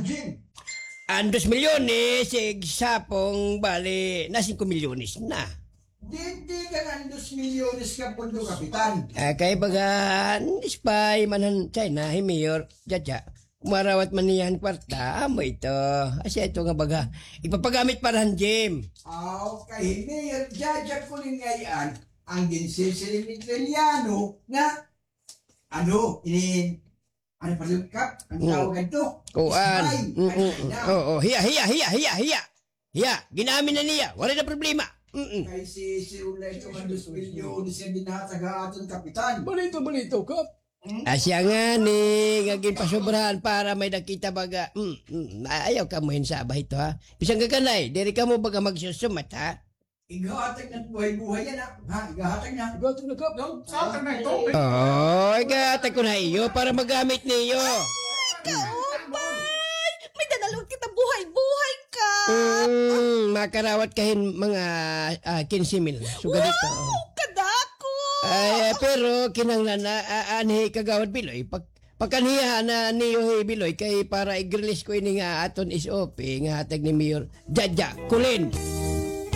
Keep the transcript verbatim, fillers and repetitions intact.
Jim. An dos milyones, eh, sa pong bali, na singko milyones na. Didi ka nga an dos milyones nga pondo, Kapitan. Ah, kay baga, spy man han China, hi Mayor Jaja. Kumarawat man niya han kwarta, amo ito. Asya ito nga baga, ipapagamit para han gym. Aw, kay hi Mayor Jaja Kulin ngay-an, an ginsisiring ni Trilliano nga, ano, ini, ano pa rin, Kap? Ang tawag adto? Kuan. Spy. Mm, mm, mm. Oo, hiya, hiya, hiya, hiya, hiya. Hiya, gin-amin na niya. Waray na problema. Mm-mm. Kay si, si Ulay ito nga dos milyones nga ginhatag ha aton, Kapitan. Balito, balito, Kap. Asya ngani nga ginpasobrahan para may-ada kita baga. Mm, mm. Ayaw kamo hinsaba hito, ha? Bisan kakanay, diri kamo baga magsusumat, ha? Ighahatag na buhay-buhay yana, ha? Ighahatag na. Ighahatag na, Kap. No? Sa akin na ito. Oo, ighahatag ko na iyo para magamit niyo. Kaupay! May-ada na la kita buhay-buhay, Kap. Mm, makarawat ka hin mga, ah, kinse mil. Sugad ito. Wow! Kadako! Ay, pero kinahanglan na, ah, anhi Kagawad Biloy, pak-, pakanhiyahan na niyo hi Biloy kay para i-release ko ini nga aton S O P nga hatag ni Mayor Jaja Kulin.